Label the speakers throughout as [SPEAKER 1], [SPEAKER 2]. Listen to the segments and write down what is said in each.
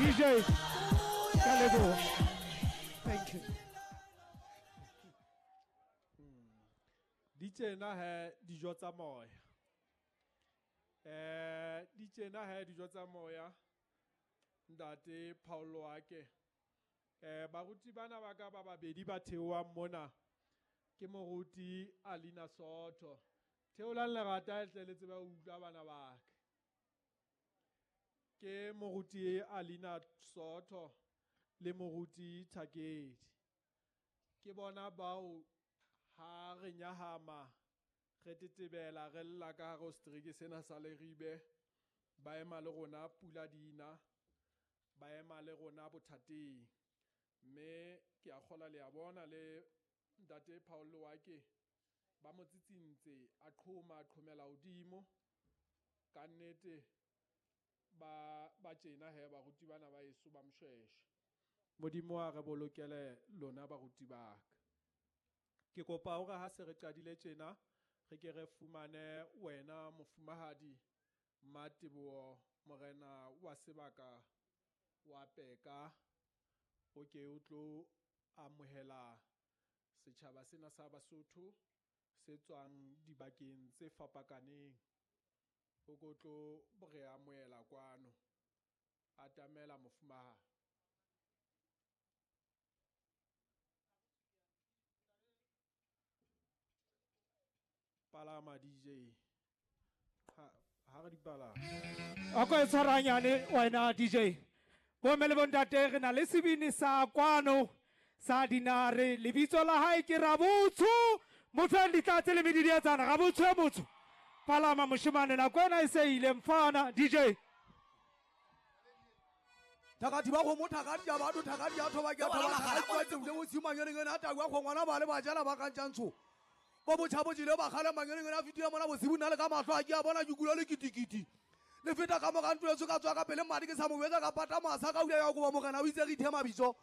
[SPEAKER 1] DJ ka leboha. Thank you.
[SPEAKER 2] Di tjena he dijo tsa moya. Di tjena he dijo tsa moya. Ntate Paulo Ake. Baruti bana ba ka ba babedi ba theohang mona. Ke moruti Alina Soto. Theolang lerata tle le tsebe ho utlwa bana ba ka. Ke moruti Alina Soto le moruti Thakedi. Ke bona bao ha re nyahama re tetebela re lla ka hare ho setereke sena sa Leribe, ba ema le rona pula dina, ba ema le rona bothateng. Mme ke a kgola le a bona le ntate Paulo Wake ba mo tsitsintse a qhoma a qhomela hodimo. Ka nnete ba tjena he baruti bana ba heso ba Moshoeshoe. Modimo a re bolokele lona baruti ba ka. Ke kopa hore ha se re qadile tjena re ke re fumane wena mofumahadi Mmateboho morena wa sebaka wa Peka, o ke o tlo amohela setjhaba sena sa Basotho se tswang dibakeng tse fapakaneng. O ko tlo re amohela kwano. Atamela mofumahadi. Palama DJ. Ha re di palama.
[SPEAKER 1] A ko e tshwaranyane wena DJ. Bomme le bontate re na le sebini sa kwano sa dinare, lebitso la hae ke Rabotsho. Motho a ditlatse le medidietsana, Rabotsho e motho. Palama moshemane, nako ena e se ile mfana DJ.
[SPEAKER 3] Thakati ba kgomo, thakati ya batho, thakati ya thoba ke thoba, thakati wa tse o tshimanyane ngwana a tagwa kgongwana ba le bajana ba kantjantsho. Bo botjha bo jile ba kgale manyane ngwana a fetile mona bosibu nna le ka mahlo a ke a bona ke kula le kitikiti. Le feta ka moka ntlo etsho ka tswa ka pele madi ke sa mo wetsa ka pata masa ka uya ya koba morena o itse re ithe mabitso.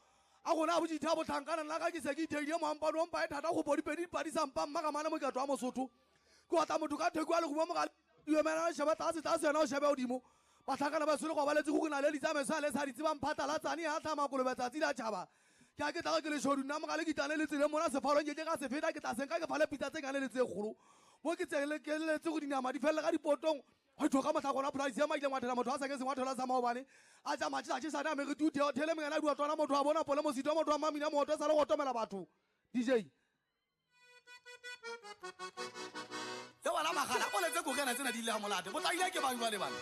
[SPEAKER 3] A rona a botjitha botlhankana nna ka ke se ke itheile moampano o mpa e thata go bodipedi dipadi sa mpa mma ka mane mokato wa Mosotho. Ke otla motho ka theko ya lerumo mogale, yomela sheba tlase tlase yena o shebe hodimo. Batlhankana ba tshwere go ba letse go na le ditsamaiso a le sa di tsebang phatlalatsane ya tlhama kolobe tsatsi la tjhaba. Ke a ke tla ke le shodu nna mogale ke itlane le tseleng mona sefalong ke ke ka se feta ke tla senka ke fale pitsa tse ngane le tse kgolo. Mo ke tsele ke letse go dinama di felle ka dipotong. Ho tjho ka mohla gona price ya maile ngwathela motho a sa ke sengwa thola sa maobane. A tsa matla tje sana me re tu theo thele mengana dua tswana motho a bona pole mosito motho a mamina motho sa le go tomela batho. DJ.
[SPEAKER 4] Yo bana magala o letse go kena tsena di le ha molate. Bo tla ile ke bang jwale bana.